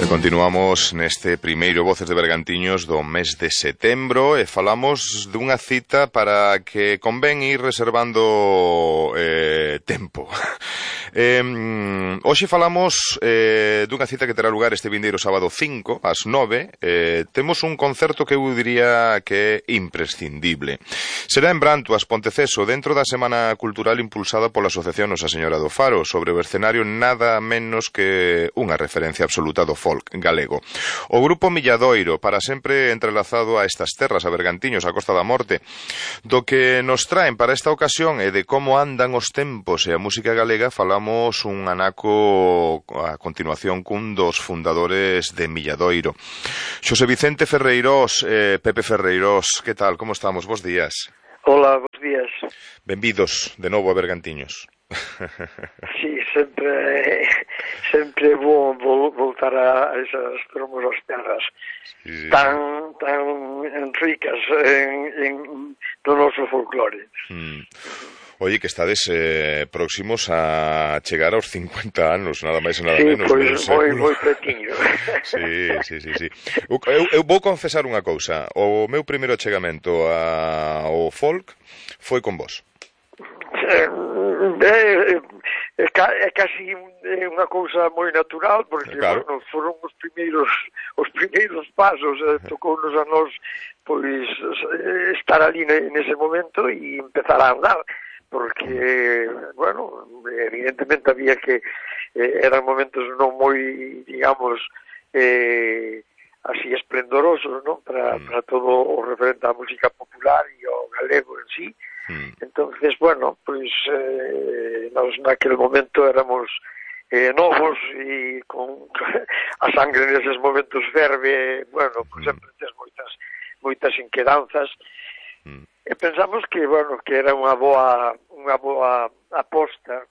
Continuamos neste primeiro Voces de Bergantiños do mes de setembro e falamos dunha cita para que convén ir reservando tempo. Hoxe falamos dunha cita que terá lugar este vindeiro sábado 5 ás 9. Temos un concerto que eu diría que é imprescindible. Será en Brantuas, Ponteceso, dentro da Semana Cultural impulsada pola Asociación Nosa Señora do Faro, sobre o escenario nada menos que unha referencia absoluta do folk galego. O grupo Milladoiro, para sempre entrelazado a estas terras, a Bergantiños, a Costa da Morte, do que nos traen para esta ocasión e de como andan os tempos e a música galega, falamos un anaco a continuación cun dos fundadores de Milladoiro. Xosé Vicente Ferreirós, Pepe Ferreirós, que tal, como estamos? Bos días. Hola, bons días. Benvidos de novo a Bergantiños. Sí, sempre bo voltar a esas fermosas terras tan ricas no noso folclore. Oye, que estades próximos a chegar aos 50 anos, nada máis e nada menos. Sí, pois moi petiño. Sí. Eu vou confesar unha cousa. O meu primeiro achegamento ao folk foi con vos. É casi unha cousa moi natural, porque claro. Bueno, foron os primeiros pasos, tocounos a nós pois estar ali nese momento e empezar a andar, porque, bueno, evidentemente había que eran momentos non moi, digamos, así esplendorosos, non? Para todo o referente á música popular e ao galego en sí. Entonces, bueno, pois nós naquele momento éramos novos e con a sangre neses momentos ferve, bueno, pois sempre tes moitas inquedanzas e pensamos que, bueno, que era unha boa aposta